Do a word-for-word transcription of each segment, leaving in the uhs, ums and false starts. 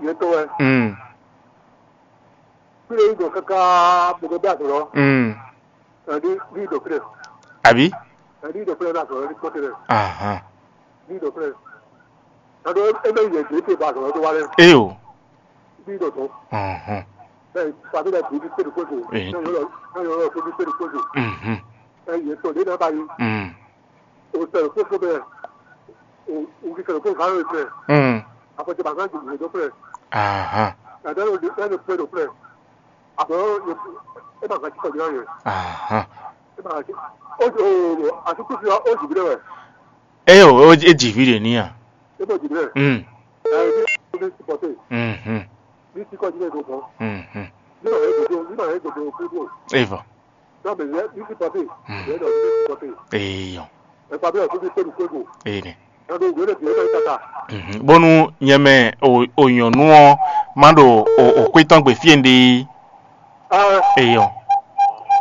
Ɛ tɔn wɛ. Mm. Kí ló yí dɔn káká bó dɔn bɛ́ azɔ̌ lɔ? Mm. Ɛ ní ní dɔn kí lɛ. Àbí? Ɛ ní dɔn kí lɛ bɛ́ azɔ̌ lɔ ní kpɔ́tɛ lɛ. Ahan. Ní dɔn kí lɛ. Ɛ dɔn ɛ bɛ yɛ dé te ba azɔ̌ lɔ dó wa lɛ. Eo. Ní dɔn tɔn. Ahan. Ɛ fàmí lɛ bìí ní pé ní kóso. Ee. Ɛ yɔ lɔ ɛ yɔ lɔ kó ní pé ní kóso. Mhm. Ɛ yɛ tɔn dé n'a ba yi. Mm. O sɛ kó fó bɛ. O o kí sɛ kó va yɔ fɛ. Mm. Àpɔtɛ bàtà jù lè dó fɛ. Ahan. Ɛ dɛ ló dé ɛ ló fɛ ló fɛ. Àbọ̀ ẹ bá gàtí kọ̀ọ̀dé ọ̀yẹ́. Ahan. Ẹ bá gàtí. Ó ó àti kùsì ó jì bí dẹ́wẹ̀. Ẹ yọ, ó jì bí dè níyà. Ẹ bá jì bí dẹ́. Mm. Ẹ bí ó bí supporté. Mhm. Bí tí kọ̀ọ̀dé ẹ̀ gbọ̀ngàn. Mhm. Nígbà yẹn gbogbo nígbà yẹn gbogbo kúrò. Eva. Náà bẹ̀ yẹ bí supporté. Mm. Yẹ dọ̀ bí supporté. Eyọ. Ẹ pa bí ọ̀tún bí pẹ̀lú pẹ̀lú. Ene. Ẹ bí ìwé lè fi ẹ bá yí kàkà. Mhm. Bónú nyɛ mɛ o o nyɔnu ɔ má ɖo o o xwé tɔn gbe fí e un ɖe é. Aa, Eyɔ.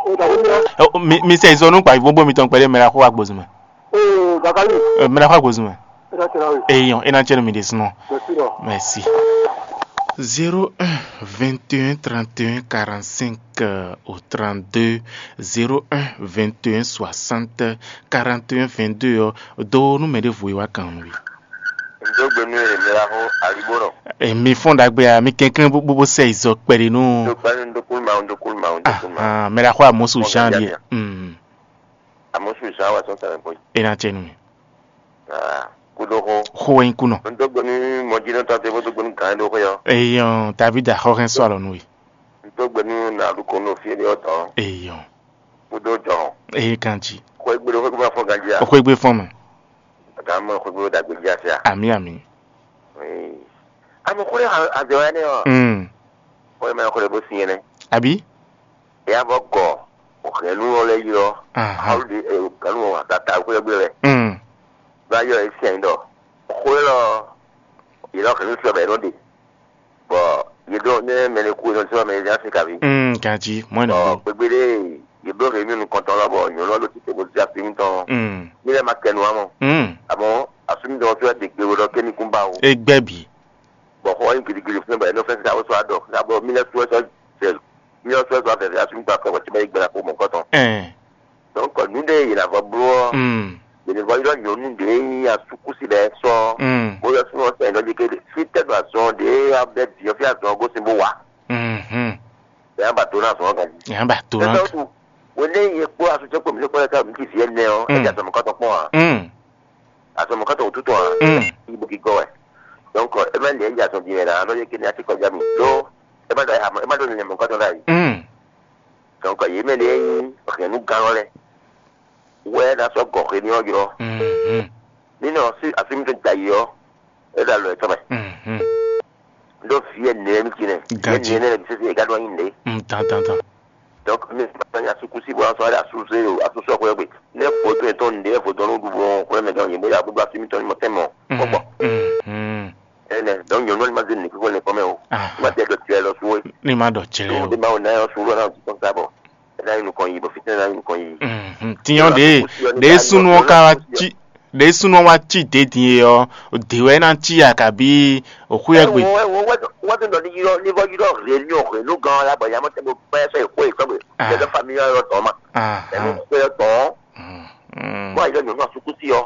O dàbí mi ɔ. Ɛ, o, mi mi sɛ izɔ nú kpa ivo bó mi tɔn kpɛɖé mɛ la xó wa gbozun mɛ. Oo, Bakali. Ɛ, mɛ la xó wa gbozun mɛ. E na tẹ̀lé awe. Eyɔ, e na tsɛ nu mi ɖe sunɔ. Merci lɔ. Merci. Zéro un vingt et un trente et un quarante-cinq au trente-deux, zéro un vingt et un soixante quarante et un vingt-deux ɔ, do nú mɛ ɖěvo e wá kan nú we. Ndo gbe nú e mɛ la xó alibonɔ. Emi fɔ́n ɖagbe a mi kɛnklɛ́n bó bó sɛ izɔ kpɛɖé nú. Ndo kpɛɖé ndo kúlú ma ndo kúlú ma ndo kúlú ma. Ahan, mɛ la xó amosu Jan ɖie. Mm. Amosu Jan wa sɔn tɛmɛ bɔ. E na tsɛ nú mi. Ah, kudo xó. Xó wɛ nyí kunɔ. Ndo gbe nú mɔjínɔ tɔn te bó do gbe nú gán do xó yɔ. Eyɔn David axɔxɛn sɔ alɔ nú we. Ndo gbe nú na ɖu kɔn nú fie ɖe ɔtɔ. Eyɔn. Kudo jɔ. Eye kan jí. Xó egbe ɖo xó egbe ma fɔ ganjí a. Xó egbe fɔn mɛ. Gama xwegbe ɖagbe jí ase a? Ami ami. Ami xwle azɔ wɛ ne ɔ. Mm. Xwle mɛ xwle bó sin yɛnɛ. Abi. Ya bɔ gɔ o hɛnu ɔ lɛ yi ɔ. Aha. Awu de e hɛnu ɔ tata xwle gbe lɛ. Mm. Ba yɔ e sian dɔ. Xwle lɔ yi lɔ hɛnu sɔ bɛ nɔ de. Bɔ yě ɖɔ ne mɛ ɖé kú, è nɔ zɔ́n mɛ ɖé dó asi kaví. Mm, ganjí, mɔ̌ è nɔ Bɔ ɖe. Gbégbé ɖé, yě bló hě mì nukɔntɔn lɔ bɔ nyɔ̌nu ɔ́ ɖo títí bó zé asú mitɔn. Mm. Mí lɛ́ ma kɛ nu ǎ mɔ. Mm. Àmọ́ asú mitɔn ɔ́ sɔ́ ɖe gbe ɖɔ ké ní kún ba o. É gbɛ́ bǐ. Bɔ xɔ ɔ́ nyí gidigidi fún ɛ bɔ è nɔ fɛ́n sá ó sɔ́ adɔ. Ná bɔ mí lɛ́ sú ɛ sɔ́ zɛ mí lɛ́ sú ɛ sɔ́ afɛfɛ asú mitɔn afɛ bɔ tí bá yi gbɛ ná kó mɔ̌kɔtɔn. Ɛn. Donc nǔ ɖé yě ná vɔ bló ɔ́, Mm. yě ní vɔ ylɔ́ nyɔ̌nu ɖě nyí asúkúsi lɛ́ɛ sɔ́, Mm. bó yɔ súnmọ́ sɛn ɖɔ jí ké fí tɛ́ ɖo azɔn ɖě abɛ bǐ ɔ́ fí azɔn ɔ́ gosín bó wá. Mhm. Bɛ́ á ba dó ná azɔn ɔ́ ganjí. Yǎ ba dó ná. Ɛsɛ wútu, wěné yě kpó asútsɛ kpó mǐ kpó lɛ́ ká mǐ ti vǐ ɛnɛ ɔ́, Mm. é jɛ azɔn mɔ̌kɔtɔn kpɔ́n ǎ. Mm. Azɔn mɔ̌kɔtɔn wútu tɔn ǎ. Mm. Yí bó gígɔ́ wɛ. Donc ɛ má lě é jɛ azɔn din wɛ ná, nɔ yě ké ní así kɔjá mì. Ɖó é má ɖɔ é má ɖó nilɛ mɔ̌kɔtɔn ɖ'ayǐ. Mm. Donc yě mɛ ɖě nyí hɛ̌nnugán ɔ́ lɛ́ɛ wɛ ná sɔ́ gɔ̌ xwé ní ɔ́ ylɔ́. Mhm. Ní nɔ así mitɔn da yi ɔ́, é ɖo alɔ yětɔn mɛ. Mhm. Ɖó vǐ ɛnɛ mi jí nɛ. Vǐ Ganjí. Ɛnɛ nɛ mi sese é gá ɖó anyi nɛ. Mm, dan dan dan. Donc mi ma nya sukusi bɔ asɔ asuse o asusɔ xwɛ gbe. Ne vodun etɔn nde vodun nu ɖu bɔ xwɛ mɛ gan yebo ya gbogbo así mitɔn ni mɔ tɛmɛ o. Mhm. Kpɔkpɔ. Mhm. Ɛnɛ donc nyɔnu ni ma zé ne kiko ne kɔmɛ o. Aha. Ma tɛ dɔ tirɛ lɔ su o. Ni ma dɔ tirɛ o. Ɖo ma o na yɔ su lɔ na o ti kɔn sa bɔ. Ena yi nukɔn yi bɔ fitɛ na yi nukɔn yi. Mhm. Tiɲɔ de de sunu ka wa ci de sunu wa ci de din ye ɔ de wɛ na ci ya kabi oxu yɛ gbe. Wọ́n ti lọ ní yírọ́ ní bọ́ yírọ́ rèé ní ọ̀rẹ́ ló gan-an lábọ̀ yàmọ́ tẹ́ mo bá ẹ sọ èkó èkó mi lẹ́gbẹ́ fami yọ ọ̀rọ̀ tọ́ ma ẹ̀mí kó yọ tọ́. Bọ́ àyílẹ̀ nyɔ̀nú àsukú sí ọ.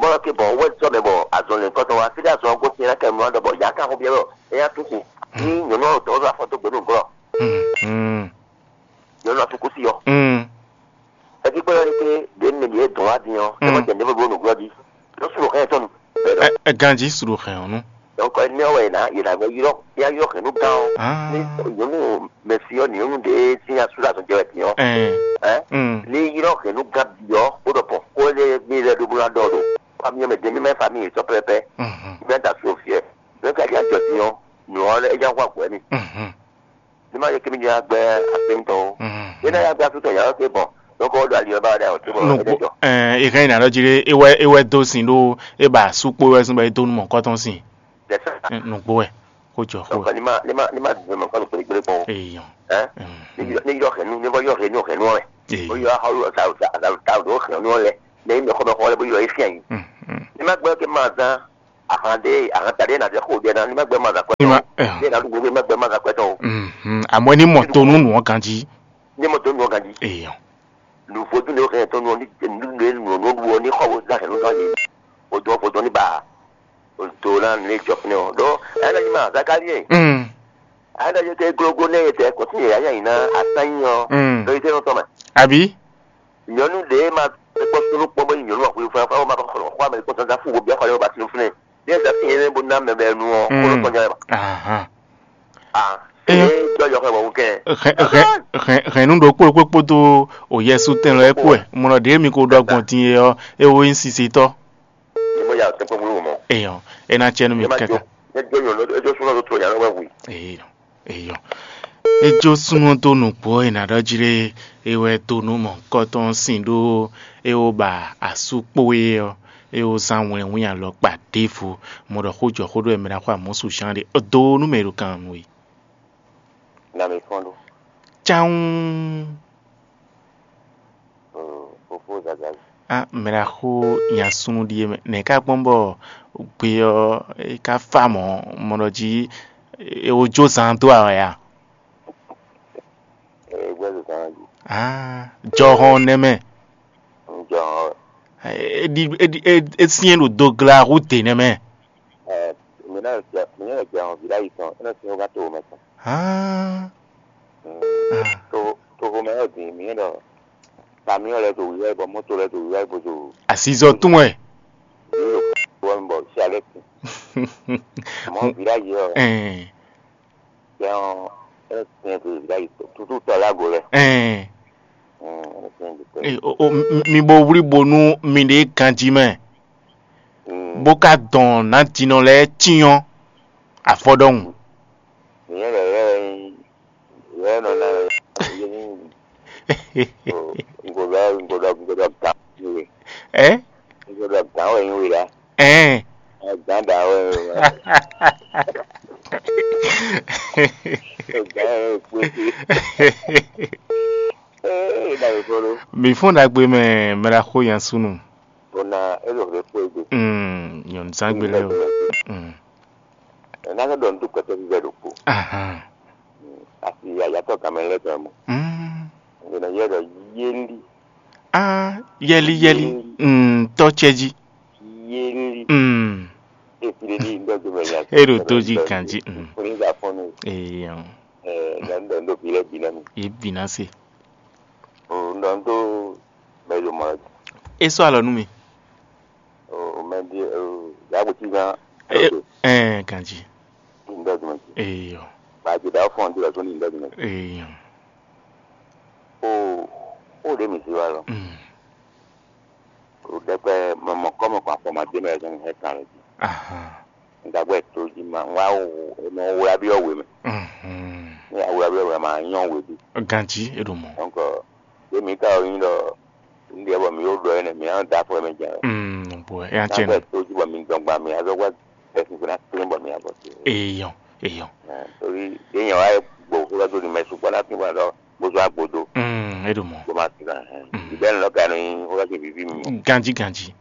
Bọ́lá ké bọ̀ wọ́n ti sọ mẹ́ bọ̀ àzọ̀lẹ̀ nǹkan tó wá sílẹ̀ àzọ̀ ọgọ́ sí ẹ̀rá kẹ́mi wọn dọ̀bọ̀ yà á ká fún bí ẹ̀rọ ẹ̀yà tó kù ní nyɔ̀nú ọ̀rọ̀ tó wọ́n fọ́ tó gbẹ́nu gbọ́. Nyɔ̀nú àsukú sí ọ. Ẹ ti kpé yọ ni pé ɖě mi ɖě dɔn wá din ɔ́, ɛ mɔ jɛ nɖě fó ɖó nǔglɔ́ jí. Lɔ su ɖo xɛ tɔn nu. Ɛ ɛ ganji su ɖo xɛ ɔ́ nu. Donc ɛ nɛ wɛ yě ná yě ná gbɛ ylɔ́ yá ylɔ́ xɛ nú gán ɔ́. Ní nyɔ̌nu mɛsí ɔ́ nyɔ̌nu ɖě sín asú ɖo azɔn jɛ wɛ din ɔ́. Ɛ Ɛ ní ylɔ́ xɛ nú gán bǐ ɔ́ kó ɖɔ pɔn kó lé mí lɛ ɖó bó ná ɖɔ ɖo. Fami ɔ́ mɛ dě mí mɛ fami yě sɔ́ pɛ́pɛ́. Mí ná da su o fiɛ. Mɛ ka ɖi ajɔ din ɔ́, nǔ ɔ́ lɛ é já xɔ agbǔ wɛ mì. Ní ma yɛ kémi jɛ agbɛ asɛnitɔ o. Yé ná yà gbé asútɔ yàrá ké bɔ lóko ó do ali ɔba ɖe àwọn tó bɔ Nugbo ɛdɛ jɔ. Ɛ ìhɛn ìnà lɔ jí ɖé ewɛ ewɛ dó sin ɖó é ba sukpó wɛ sín bɔ é dó nú mɔ kɔtɔn sin. Dɛsɛ. Nugbo wɛ kó jɔ xó. Donc ni ma ni ma ni ma dùn mɔ kɔni péré péré kpɔn. Eyɔn. Ɛ ni yɔ ni yɔ hɛnu ni bɔ yɔ hɛnu hɛnu wɛ. Ó yɔ ahɔlu ta ta ta ta do hɛnu lɛ ne yi mɛ kɔ mɛ kɔ lɛ bó yɔ é fian yi. Ni ma gbɛ ké ma zan Ahan ɖé, ahan ta ɖé nà ɖe xo ɖe na ní ma gbɛ ma zakɔ tɔn. Ní ma ɖé nà ɖu gbogbo ma gbɛ ma zakɔ tɔn. Mhm. Àmọ́ ní mọ̀ tó nú nù ọ́ ganjí. Ní mọ̀ tó nù ọ́ ganjí. Èèyàn. Nù fojú ní o hɛn tó nù ọ́ ní nù ní nù ní nù ọ́ ní xɔ wo zá hɛn nù zá yé. O dɔn o dɔn ní ba. O do na ní jɔ fúnɛ o. Ɖó ɛnɛ ní ma Zakarie. Mm. Ɛnɛ yé ké glógó nɛ yé tɛ kɔtí yé yá yá yìí ná atán yí ɔ. Mm. Ɖó yé tɛ nɔ tɔn mɛ. Àbí? Nyɔnu ɖe ma kpɔ sunu kpɔ bɔ nyɔnu wa kuli fún fún ma kɔ xɔ ame kpɔ sɔn fún wo bia xɔ yɛ ba sunu fún ne. Ɖe sa fi yɛ bo na mɛ bɛ nu ɔ ko lɔ tɔn jɛ ba. Ahan. Ah. Eyɔ. E jɔ yɔ xɛ wɔ kɛ. Hɛn hɛn hɛn hɛn nu ɖo kpó kpó kpódó o Yɛsu tɛn lɔ ɛkú ɛ mɔ lɔ ɖě mi ko ɖɔ gbɔn din e ɔ e wo nyí sisitɔ. Ni mo ya tɛn kpó mú mɔ. Eyɔ. E na cɛ nu mi Ema kankan. Jo. Ne jo nyɔnu e jo sunu to to ya lɔ wɛ wi. Eyɔ. Eyɔ. E jó súnnu dó nǔgbó e nǎ ɖɔ jí lé, é wɛ dó nú mɔ̌hunkɔtɔn sín ɖó é wó ba asú kpó é ɔ́, é wó zán wlɛnwín alɔkpa ɖěvo. Mɔ ɖɔ xó jɔ xó ɖó wɛ mɛ ná xó amɔ̌ su zán ɖé dó nú mɛ e ɖo kan nú we. Na mi fɔ́n ɖó. Cáwún. Fofó Zazali. A mɛ ɖaxó nya súnnu ɖíe mɛ. Nɛ̌ ká gbɔn bɔ gbe ɔ́ é ká fá mɔ̌ mɔ ɖɔ jí é wó jó zaan dó awɛ a? Ee, gbɛ́ zozan jí. Ah, jɔhɔn nɛ́ mɛ. Jɔhɔn. É ɖi é ɖi é é syɛ́n ɖo dogla hú dě nɛ́ mɛ. Ɛ, mi ná jɛ mi ná jɛ hɔn vǐ ɖ'ayǐ tɔn, é nɔ syɛ́n wó ká to mɛ tɔn. Ah. Mm. Ah. To to xomɛ ɔ́ din mi ɖɔ kamiɔn lɛ́ɛ ɖo wíwá yi bɔ mɔto lɛ́ɛ ɖo wíwá yi bó ɖo Asizɔ tún wɛ. Wɔ mi bɔ si alɛ tin. Mɔ vǐ ɖ'ayǐ ɔ́. Ɛn. Jɛ ɔ́ é nɔ syɛ́n ɖo vǐ ɖ'ayǐ tɔn. Tutu tɔ lɛ ago lɛ. Ɛn. Mm, é nɔ syɛ́n ɖo tɔ. E, o, o, mi bo wlí bo nú miɖée ganjí mɛ. Mm. Bó ká dɔn nǎjínɔ lɛ́ɛ cyɔ́n afɔ ɖɔhun. Nyɛ lɛ yɛ yɛ nɔ na yɛ ni ŋgɔdɔ ŋgɔdɔ ŋgɔdɔ gan we. Ɛ? Ŋgɔdɔ gan wɛ nyi we la. Ɛn. Gan da wɛ. Gan wɛ kpete. Ee, da we kolo. Mi fún ɖagbe mɛ mɛ ɖaxó nya súnnu. Bona e ɖo xexo egbe. Mm, nyɔ̌nuzangbe lɛ́ɛ o. Mm. Ena ke ɖɔ ntu kpɛtɛ vivɛ ɖokpo. Ahan. Asi ayatɔ gamɛ lɛ tɔ mo. Mm. Ngena yɛ ɖɔ yeli. Ah, yɛli yɛli. Yeli. Mm, tɔ cɛ jí. Yeli. Mm. Efi ɖe ɖi ŋdɔ do mɛ ya. E ɖo to jí kan jí. Mm. Fúnni gba fɔnu. Eyɔn. Ɛ, ŋdɔ ŋdɔ ŋdɔ bi lɛ bi na mi. Ye bi na se. O ŋdɔ ŋdɔ mɛ yo mɔ. E sɔ alɔ nú mi. O mɛ di o ya ko ti gan. Ɛ, ɛ, ganji. Ŋdɔ do mɛ. Eyɔ. Ba je da fɔn di la so ni ŋdɔ do mɛ. Eyɔ. O o de mi si wa lɔ. Mm. O dɛkpɛ mɔmɔ kɔmɔ kɔ afɔ ma de mɛ zɔn hɛ kan lɛ ji. Ahan. Ŋdagbe to ji ma ŋwa wo no wo abi o we mɛ. Mhm. Ni awo abi o we ma nyɔ we bi. Ganji e ɖo mɔ. Donc, ye mi ka o yin dɔ ndi bɔ mi o dɔ ene mi an da fɔ mɛ jɛ. Mm, bon, e an cɛ. Ŋdagbe to ji bɔ mi dɔn gba mi azɔ gba bɛ kun na tin bɔ mi abɔ ti. Eyɔn, eyɔn. Torí ye nyɛ wa gbo ko do ni mɛ su kpɔ na tin bɔ dɔ bo zo agbodo. Mm, e ɖo mɔ. Bo ma tin na. Mm. Ibɛ lɔ ka ni o ka ke vivi mi. Ganji, ganji.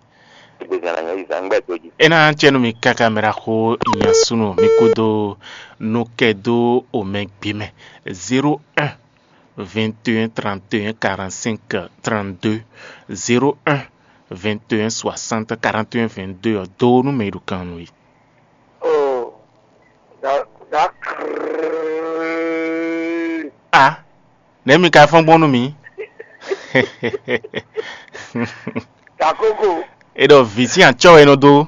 Ena cɛ nú mi káká mɛ ɖaxó nya súnnu mi kúdó nú kɛ dó omɛ gbé mɛ. Zéro un, vingt et un, trente et un, quarante-cinq, trente-deux. Zéro un, vingt et un, soixante, quarante et un, vingt-deux ɔ dó nú mɛ e ɖo kan nú we. Oh, da da. A, nɛ̌ mi ka fɔ́n gbɔn nú mì? Takoko. E ɖɔ vǐ sín acɔ́ wɛ é nɔ dó.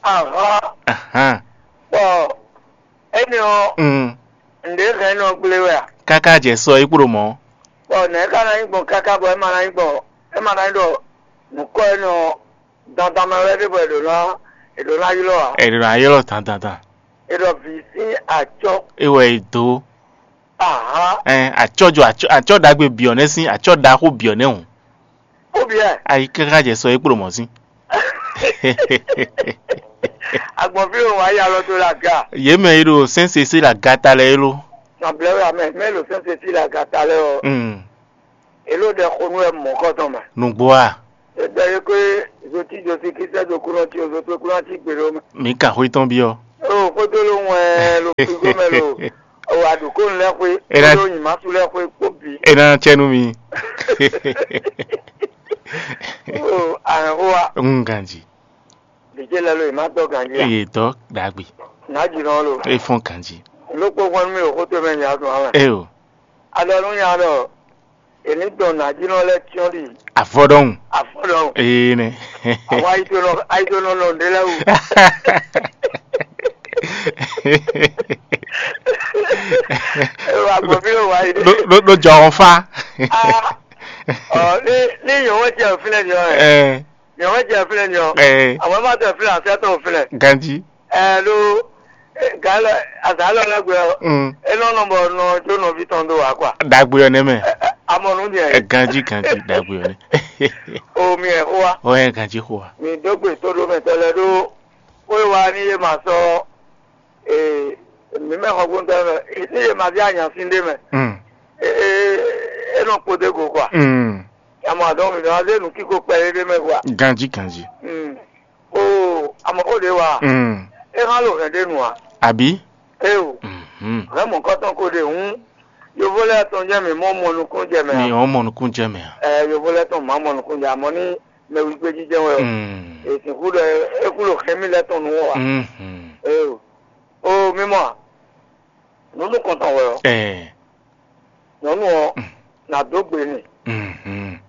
Ahán. Ahán. Bɔ énɛ́ ɔ́, Mm. ǹdě hɛn nɔ gblé wɛ a? Káká jɛ sɔ é kpo ɖo mɔ̌. Bɔ nɛ̌ ká ná nyí gbɔn káká bɔ é ma ná nyí gbɔn é ma ná nyí ɖɔ nǔkɔ énɛ́ ɔ́ dandan mɛ wɛ ɖé bɔ è ɖǒ ná è ɖǒ ná ylɔ́ ǎ. È ɖǒ ná ylɔ́ dandandan. È ɖɔ vǐ sín acɔ́. É wɛ è dó. Ahán. Ɛn acɔ́ jɔ acɔ́ acɔ́ ɖagbe byɔ̌ nɛ́ sín acɔ́ ɖaxó byɔ̌ nɛ́ hǔn. Ou bien? Ayi káká jɛ sɔ é kplɔ́ mɔ̌ sín. Agbɔnví o wá ya lɔ tó la ga. Yě mɛ yi ɖo sɛ́nsesé la gata lɛ é ló. Nɔblɛ wɛ amɛ mɛ lo sɛ́nsesé la gata lɛ ɔ. Mm. Èló ɖɛ xo nú ɛ mɔ̌kɔtɔn mɛ. Nùgbó a? Ɖɔ yě kó zotí Josi kí sɛ́ do kúnɔ tí o zo tó kúnɔ tí gbe ɖó mɛ. Mǐ ka xwé tɔn byɔ́. O xódó ló wɛn lo figo mɛ lo. O aɖukónu lɛ́ xwé. Ena- Kódó nyimásu lɛ́ xwé kpó bǐ. E ná cɛ nú mi. O ahɛn xó wa. Ń ganji. Ɖějé lɛ lo yě má dɔ́ ganjí a? Eye dɔ ɖagbe. Nǎjínɔ lo. E fɔn ganji. Lókpó gbɔn nú mi ɖo xótó mɛ nya dùn alɛ. E o. Aɖɔ nú nya ɖɔ èní dɔn nǎjínɔ lɛ́ɛ cyɔ́n ɖi. Afɔɖɔhun. Afɔɖɔhun. Ee nɛ. Àwọn ayidonɔ ayidonɔ nɔ ɖé lɛ wò. Ewa gbɔ bí ló wà yìí. Ló ló ló jọ ɔn fa. Ah, ɔ ní ní yòówó jẹ òfin lẹ ni ọ ẹ. Ẹ Yɔn wɛ jɛ fínɛ́ ni ɔ́, Ɛɛ. Àwọn ma tɛ fínɛ́ asɛ tɔn fínɛ́. Ganji. Ɛ ɖo gǎn lɛ azǎn lɛ lɛ́ gbé ɔ́, Mm. É nɔ nɔ bɔ nɔ jó nɔví tɔn dó wǎ kɔa. Dagbe ɔ́ nɛ mɛ. Amɔ nú diɛ. Ɛ ganji ganji dagbe ɔ́ nɛ. O mi ɛ xó wa. Ɔ ɛ ganji xó wa. Mi dó gbe tó ɖó mɛ tɔ lɛ ɖó. Xó e wa ní yé ma sɔ ee mi mɛ xɔ gbóntɔ mɛ ní yé ma bí anyasín ɖé mɛ. Mm. Ee é nɔ kpódé go kɔa. Mm. Àmọ́ àdánwò mi dán zé nǔ kíkó kpɛɖé ɖé mɛ hua. Ganjí ganjí. Mm. O àmọ́ ó ɖe wa. Mm. É hán lo hɛn ɖé nu a. Àbí? É o. Mhm. Hɛn mɔ̌kɔtɔn ko ɖe hǔn. Yovó lɛ́ɛ tɔn jẹ́ mi mɔ mɔ nukún jɛ mɛ Mi a. Ɔ́ mɔ nukún jɛ mɛ a. Ɛ yovó lɛ́ɛ tɔn má mɔ nukún jɛ àmọ́ ní mɛ wígbé jíjɛ wɛ o. Mm. Èsìnkú ɖɔ é kú lo hɛn mí lɛ́ɛ tɔn nu wɔ wa. Mhm. É o. O mi mɔ a. Nǔ nukɔntɔn wɛ ɔ. Ɛ. Nyɔ̌nu ɔ́, nǎ dó gbe n'i. Mhm.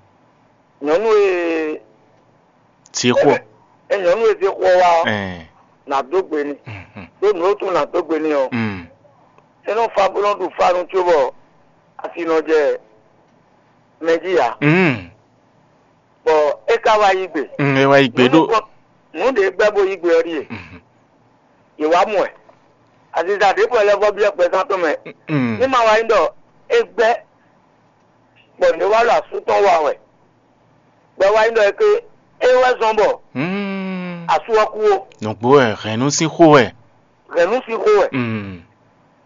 Nyɔ̌nu e Zixɔ. E nyɔ̌nu e zé xɔ wá ɔ́, Ɛ. Nǎ dó gbe n'i. Mhm. Ɖó nǔ e tún nǎ dó gbe n'i ɔ́, Mm. É nɔ fa bó nɔ ɖu fanu cóbɔ asi nɔ jɛ mɛ jí ǎ. Mm. Bɔ é ka wá yí gbe. Mm, é wá yí gbe Nǔ ɖó. Nukɔn- nǔ ɖě gbɛ́ bó yí gbe ɔ́ ɖíe. Mhm. Yě wá mɔ ɛ. Aziza ɖěbǔ wɛ lɛ́ vɔ́ byɔ́ gbɛzán tɔn mɛ. Mm. Ní ma wá nyí ɖɔ é gbɛ́ bɔ nǔ e wá ɖo asú tɔn wa wɛ, bɔ é wá nyí ɖɔ é ké é wɛ zɔ́n bɔ Mm. Asú ɔ́ kú ó. Nǔgbó wɛ hɛ̌nnu sín xó wɛ. Hɛ̌nnu sín xó wɛ. Mm.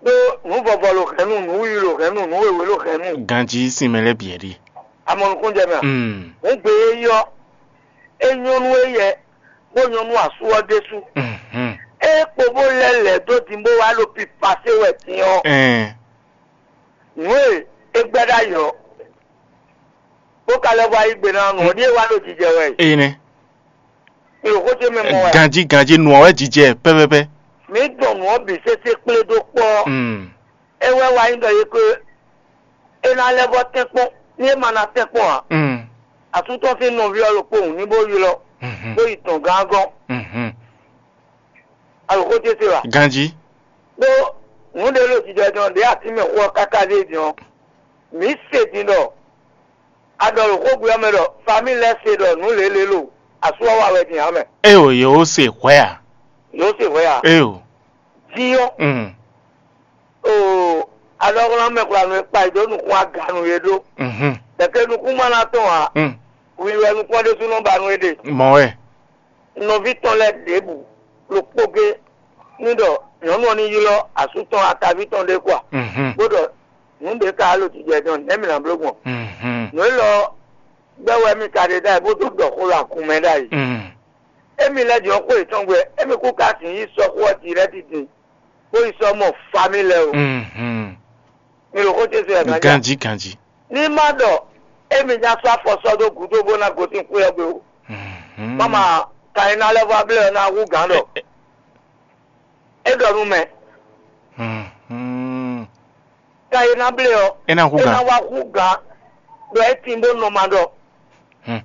Ɖó nǔ vɔvɔ lo hɛ̌nnu, nǔ wiwi lo hɛ̌nnu, nǔ wěwé lo hɛ̌nnu. Ganjí sín mɛ lɛ́ɛ bǐ ɛ ɖi. Amɔ nukúnjɛ mɛ a? Mm. Hǔn gbe e yí ɔ́, é nyɔ́ nú éyɛ́, bó nyɔ́ nú asú ɔ́ ɖésú. Mhm. É kpo bó lɛ́ lɛ̌ dó din bó wá ɖo pipasé wɛ din ɔ́, Ɛn. Nǔ e é gbɛ́ ɖ'ayǐ ɔ́, bó ka lɛ́ vɔ ayǐ gbe ná nǔ ɔ́ ɖíe wá ɖo jijɛ wɛ. Eye nɛ́. Mi ɖo xó ce mɛ mɔ wɛ. Ganjí ganjí nǔ ɔ́ wɛ jijɛ pɛ́pɛ́pɛ́. Mǐ dɔn nǔ ɔ́ bǐ sésé kplé dó kpɔ́. Mm. É wɛ wá nyí ɖɔ yě ko é ná lɛ́ vɔ tɛ́nkpɔ́n, ní é ma ná tɛ́nkpɔ́n ǎ. Mm. Asú tɔn sín nɔví ɔ́ ɖokpó hǔn ní bó ylɔ́, Mhm. Bó yi dɔn gán gɔ́n. Mhm. Alǒxó ce se wa. Ganjí. Ɖó nǔ ɖé ɖo jijɛ jɔn ɖě atín mɛ xó ɔ́ káká ɖé din ɔ́, mǐ se din ɖɔ a ɖɔ ɖo xógbe ɔ́ mɛ ɖɔ famí lɛ́ɛ se ɖɔ nǔ lělé lo asú ɔ́ wa wɛ din ǎ mɛ. Eo yě ó se hwɛ̌ a? Yǒ se hwɛ a? Eo. Din ɔ́, Mm. Oo, alɔhwlán mɛ xwlanu e kpa yi dó nukún aganu e ɖó. Mhm. Ɖɛ̌ke nukún ma ná tɔn ǎ. Mm. Wiwi wɛ nukún ɔ́ ɖésú nɔ ba nú é ɖe. Mɔ̌ wɛ. Nɔví tɔn lɛ́ɛ ɖěbǔ ɖokpó gé ní ɖɔ nyɔ̌nu ɔ́ ní ylɔ́ asú tɔn ataví tɔn ɖé kɔ a? Mhm. Bó ɖɔ nǔ ɖě ka wá ɖo jijɛ dɔn nɛ̌ mǐ ná bló gbɔn? Mhm. Nǔ élɔ́ gbɛ́ wɛ mì ka ɖe ɖ'ayǐ bó dó ɖɔ xó ɖo agun mɛ ɖ'ayǐ. Mm. Émí lɛ́ din ɔ́ xó yětɔn gbe, émí kú ka sixú yi sɔ́ xó ɔ́ dirɛ́ti din, bó yi sɔ́ mɔ famí lɛ́ɛ o. Mhm. Mi ɖo xó ce se wɛ gán ja. Ganjí ganjí. Ní má ɖɔ émí ná sɔ́ afɔ sɔ́ dó gǔdo bó ná gosín xwé ɔ́ gbe o. Mhm. Mama kan e ná lɛ́ vɔ ablɛ́ ɔ́ ná hú gǎn ɖɔ é ɖɔ nú mɛ. Mhm. Kan e ná blé ɔ́, É ná hú é gǎn. Ná wá hú gǎn ɖɔ é tin bó nɔ ma ɖɔ. Hmm.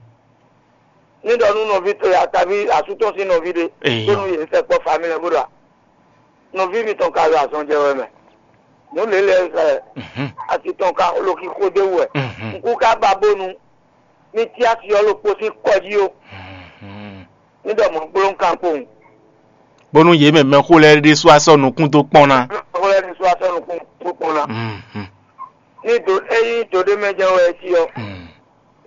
Ní ɖɔ nú nɔví towe ataví asú tɔn sín nɔví ɖé, Eyɔ. Bónú yě sɛkpɔ́ família bó ɖɔ a. Nɔví mitɔn ka ɖo azɔn jɛ wɛ mɛ. Nǔ lě lɛ́ɛ sɛ Mhm. Asi tɔn ka lo xixo dó wú wɛ. Mhm. Nǔkú ka ba bónú ní cí asi ɔ́ ɖokpó sín kɔ jí ó. Mhm. Ní ɖɔ mɔ̌ gbló un kan kpowun. Bónú yě mɛ mɛxó lɛ́ɛ ɖésú asɔ nukún dó kpɔ́n ná. Mɛxó lɛ́ɛ ɖésú asɔ nukún dó kpɔ́n ná. Mhm. Ní do ényí do ɖé mɛ jɛ́n wɛ é cí ɔ́, Mm.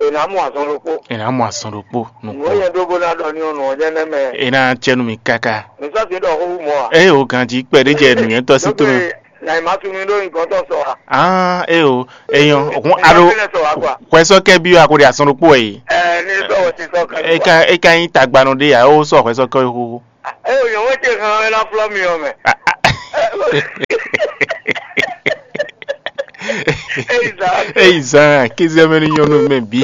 È nǎ mɔ azɔn ɖokpó. È nǎ mɔ azɔn ɖokpó Nǔ nukún. E nyɛ ɖó bó ná ɖɔ ní ɔ́ nǔ ɔ́ jɛ́n nɛ́ mɛ. È nǎ cɛ nú mi káká. Mi sɔ́ sin ɖɔ xó wú mɔ̌ ǎ. Eye o ganjí kpɛɖé jɛ nǔnywɛ́tɔ́ sín tó mɛ. Na yi ma tunú ɖó nyigɔn tɔn sɔ wa. Ah, e o, eyɔn, hun ado. Fínɛ sɔ wa kwa. Hwɛsɔkɛ bi wa ko ɖe asɔn ɖokpó wɛ yi. Ɛ ní sɔ wɔ ti sɔ kan. Eka eka yin tagbanɔ ɖe ya o sɔ hwɛsɔkɛ xoxo. Ɛ o nyɔmɔ ce kan ɛ na flɔ mi ɔ mɛ. Eyi zan. Eyi zan kézé mɛ ní nyɔnu mɛ bí.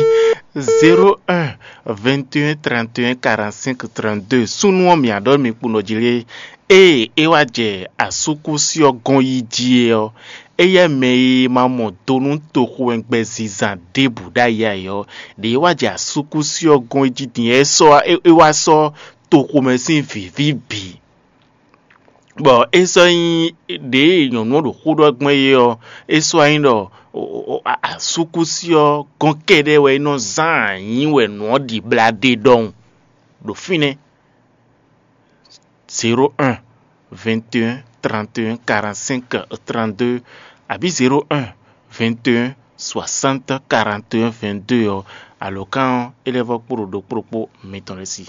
Zéro un, vingt et un, trente et un, quarante-cinq, trente-deux. Súnú ɔ́ mǐ aɖɔ mi kpo nɔ jí lé. Ée é wá jɛ asúkúsi ɔ́ gɔ́n yí jí é ɔ́, éyɛ́ mɛ e ma mɔ do nú toxowɛngbɛ zizan ɖěbǔ ɖ'ayǐ ǎ é ɔ́, ɖě é wá jɛ asúkúsi ɔ́ gɔ́n yí jí din é sɔ́ é wá sɔ́ toxomɛ sín vǐví bǐ. Bɔ é sɔ́ nyí ɖě e nyɔ̌nu ɔ́ ɖo xó ɖɔ gbɔn é ɔ́, é sɔ́ wá nyí ɖɔ asúkúsi ɔ́ gɔ́n kɛ́ɖɛ́ wɛ é nɔ zán anyǐ wɛ nǔ ɔ́ ɖi blá ɖe ɖɔhun ɖo fínɛ́. Zéro un, vingt et un, trente et un, quarante-cinq, trente-deux, abǐ zéro un, vingt et un, soixante, quarante et un, vingt-deux ɔ́, alǒkan ɔ́, é lɛ́ vɔ́ kpo ɖo ɖokpó ɖokpó mitɔn lɛ́ɛ sí.